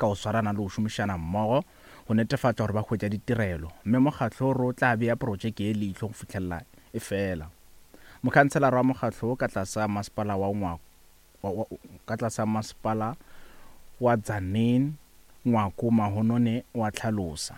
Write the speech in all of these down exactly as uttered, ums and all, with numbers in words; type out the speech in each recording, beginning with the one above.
ka go swarana le go šomišana mmogo go netefatša gore ba hwetša ditirelo, mme mokgatlo o re o tla bea projeke ye leihlo go fihlelela e fela. Mokhanselara wa mokgatlo wo ka tlase ga masepala wa Ngwako ka tlase ga masepala wa Tzaneen Ngwako Mahonone wa hlalosa.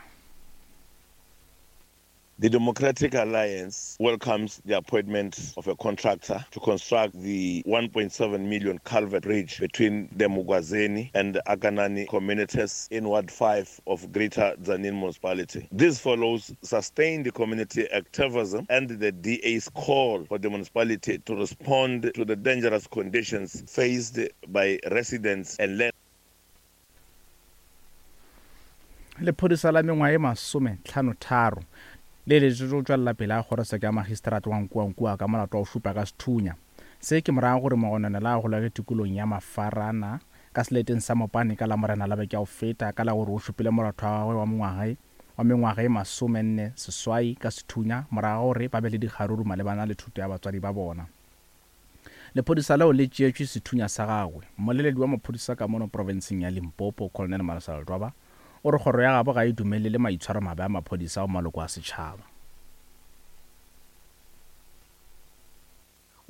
The Democratic Alliance welcomes the appointment of a contractor to construct the one point seven million culvert bridge between the Mugwazeni and the Akanani communities in Ward five of Greater Tzaneen Municipality. This follows sustained community activism and the D A's call for the municipality to respond to the dangerous conditions faced by residents and land. Lephodisa la mengwaga e masome tlhano tharo le eletšwe go tšwelela pele ga kgorotsheko ya magistrate wa Nkuankua ka molato wa go šupa ka sethunya. Se ke morago gore mogononela a golage tikolong ya Mafarana ka seleteng sa Mopane ka Lamorena la beke ya go feta ka la gore o šupile moratho wa gagwe wa mongwaga wa mengwaga e masomenne seswai ka sethunya morago gore ba be le dikgaruru malebana le thuto ya batswadi ba bona. Lephodisa leo le tšeetšwe sethunya sa gagwe. Mmoleledi wa maphodisa ka mono profenseng ya Limpopo, Colonel Marcel Dwaba, o re kgoro ya gabo ga e dumelele maitshwaro mabe a maphodisa ao maloko a setšhaba.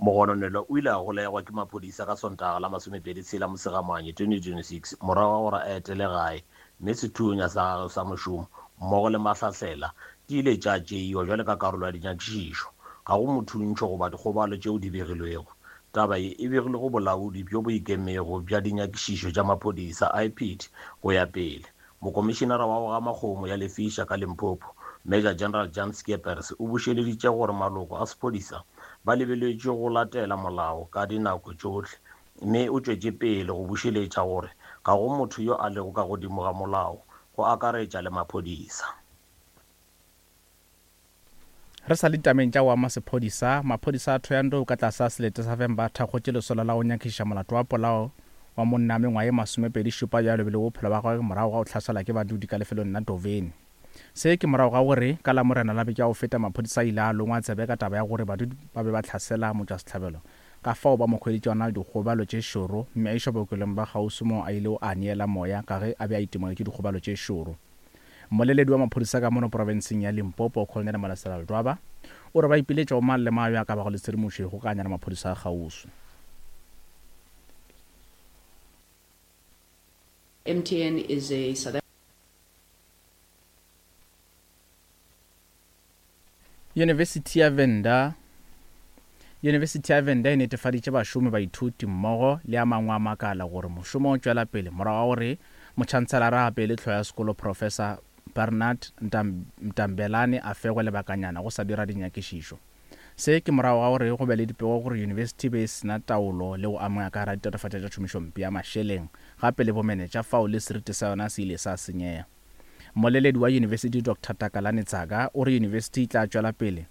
Mogononelwa o ile a golegwa ke maphodisa ka Sontaga la masomepedi tshela Mosegamanye twenty twenty-six morago ga gore a etele gae, mme sethunya sa gagwe sa mošomo mmogo le mahlahlela di ile tša tšeiwa bjalo ka karolo ya dinyakišišo. Ga go mothuntšho goba dikgobalo tšeo di begilwego. Taba ye e begilwe go bolaodi bjo bo ikemego bja dinyakišišo tša maphodisa I P D go ya pele. Mokomišenara wa go gama kgomo ya Lefisha ka Limpopo, Major General Jan Skeepers, o bušeleditše gore maloko a sephodisa ba lebeletšwe go latela molao ka dinako tšohle, mme o tšwetše pele go bušeletša gore ga go motho yo a lego ka godimo ga molao, go akaretša le maphodisa. Re sa le ditabeng tša go ama sephodisa, maphodisa a Thohoyandou ka tlase ga selete sa Vhembe a thakgotše lesolo la go nyakišiša molato wa polao wa monna wa mengwaga e masomepedi šupa yo a lobilego bophelo bja gagwe morago ga go hlaselwa ke badudi ka lefelong la Doveni. Se ke morago ga gore ka Lamorena la beke ya go feta maphodisa a ile a longwa tsebe ka taba ya gore badudi ba be ba hlasela motšwasehlabelo, ka fao ba mo hweditše a na le dikgobalo tše šoro, mme a išwa bookelong bja kgauswi moo a ilego a neela moya ka ge a be a itemogetše dikgobalo tše šoro. Mmoleledi wa maphodisa ka mono profenseng ya Limpopo, Colonel Malesela Ledwaba, o re ba ipiletša go mang le mang yo a ka bago le tshedimošo go ikgokaganya le maphodisa a kgauswi. M T N is a South University ya Venda University ya Venda e netefaditše bašomi, baithuti mmogo le a mangwe a makala gore mošomo o tšwela pele morago ga gore motšhantselara gape le hlogo ya sekolo Professor Bernard Mtambelane a fegwe lebakanyana go sa dira dinyakišišo. Se ke morago ga gore go be le dipego gore yunibesithi be e sena taolo le go amega ka gare ga ditatofatšo tša tšhomišompe ya mašeleng gape le bomenetša fao le seriti sa yona se ile sa senyega. Mmoleledi wa yunibesithi Doctor Takalani Tsaka o re yunibesithi e tla tšwela pele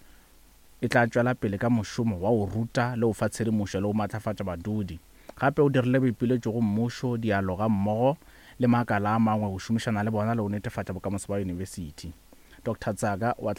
e tla tšwela pele ka mošomo wa go ruta le go fa tshedimošo le go matlafatša badudi. Gape o dirile boipiletšo go mmušo, dialoga mmogo le makala a mangwe go šomišana le bona le go netefatša bokamoso bja yunibesithi. Doctor Tsaka wa